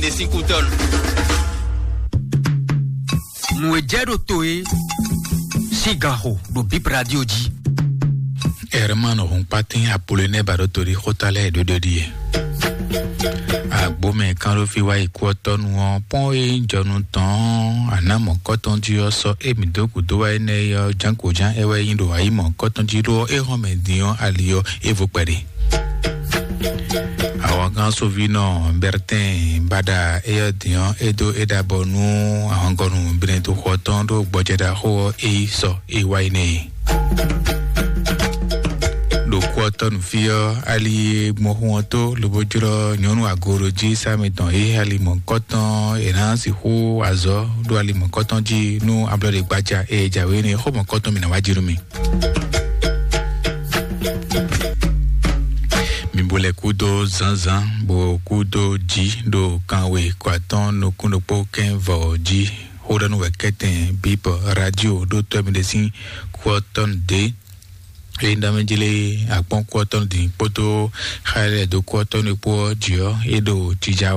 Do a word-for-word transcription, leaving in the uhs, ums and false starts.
Esikuton. Nǔ e jɛ ɖo to é sín ganxo ɖo Bip Radio jí. Herman Hunpatin Apollinaire Baɖotoɖi xóta lɛ́ɛ ɖoɖo ɖíe. Agbomɛ kánɖófí wá yi kú ɔ́ tɔ́nu ɔ́, pɔ́n e jɔnu tɔn ɔ́, àná mɔ̌kɔ́tɔn jí ɔ́ sɔ́ émí dó gǔdo wá énɛ́ ɔ́, jǎnkojǎn é wɛ nyí ɖo ayǐ mɔ̌kɔ́tɔn jí ɖó é hɔn mɛ din ɔ́ ali ɔ́, é vo kpɛɖé. Awɔngán Sovinɔ Bertin Bada éyɔ́ din ɔ́, é dó é ɖabɔ nú ahɔngɔnu Benedixɔ tɔn ɖó gbɔjɛɖaxó ɔ́, é yi sɔ é wá yi nɛ e. Ɖo kú ɔ́ tɔ́ nú fí ɔ́, ali e gbɔn xu ɔ́ tó lobo jlɔ́ nyɔ̌nu agorojí sá mitɔn e ali mɔ̌kɔtɔn è nǎ sixú azɔ̌ ɖó ali mɔ̌kɔtɔn jí nú ablɔ́ɖe gbaja e jǎwe énɛ́ xó mɔ̌kɔtɔn mǐ ná wá jí nú mi. Mi bo lɛ kúdó zǎnzǎn, bo kúdó jí ɖo kanwe kɔ atɔ́n nukún ɖokpó kɛ́n vɔ jí. Xó ɖɔ nú wɛ kɛ́tɛn Bíbɔ Radio ɖó tɔ́ mi ɖe sín kú ɔ́ tɔn dě. Eye ɖɔ mɛ jlé akpɔ́n kú ɔ́ tɔn dín kpódó xa lɛ dó kú ɔ́ tɔn ɖokpó ɔ́ jí ɔ́, é ɖo jija